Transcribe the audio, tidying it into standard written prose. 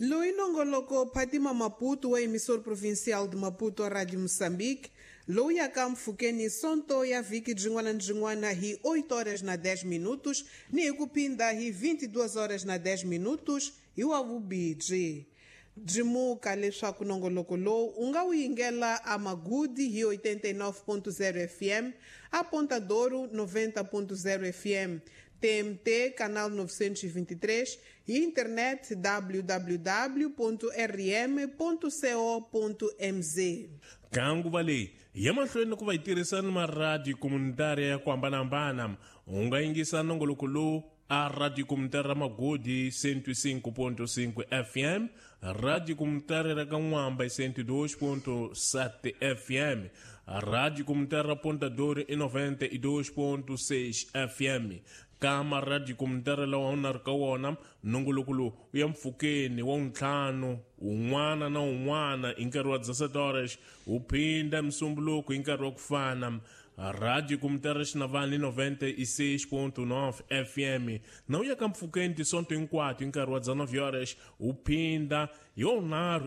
Loyi nongoloko Fatima Maputo wa emissor provincial de Maputo a Rádio Moçambique, lowu yaka mpfhukeni sonto ya vhiki byin'wana ni byin'wana hi 8 horas na 10 minutos ni hi ku phinda hi 22 horas na 10 minutos hi wa vubibyi. Byimuka leswaku nongoloko lowu u nga wu yingela a Magudi hi 89.0 FM, a Ponta Douro 90.0 FM, TMT canal 923 e internet www.rm.co.mz. Ka nguva leyi ya mahlweni ku va yi tirhisa ni maradiyo komunitari ya ku hambanahambana. U nga yingisa nongoloko lowu a radio komunitari ra Magodi 105.5 FM, radio komunitari ra Kan'wamba 102.7 FM, radio komunitari ra Ponta Douro i 92.6 FM. Ka maradiyo komunitari lawa u na ri ka wona, nongoloko lowu u ya mpfhukeni wa ntlhanu un'wana na un'wana hi nkarhi wa 17 horas, wu phinda msumbuluko hi nkarhi wa ku fana. Radio Comunitária Xinavani 96.9 FM na u ya ka mpfhukeni tisonto hinkwato hi nkarhi wa 19 horas, wu phinda hi wunharhu.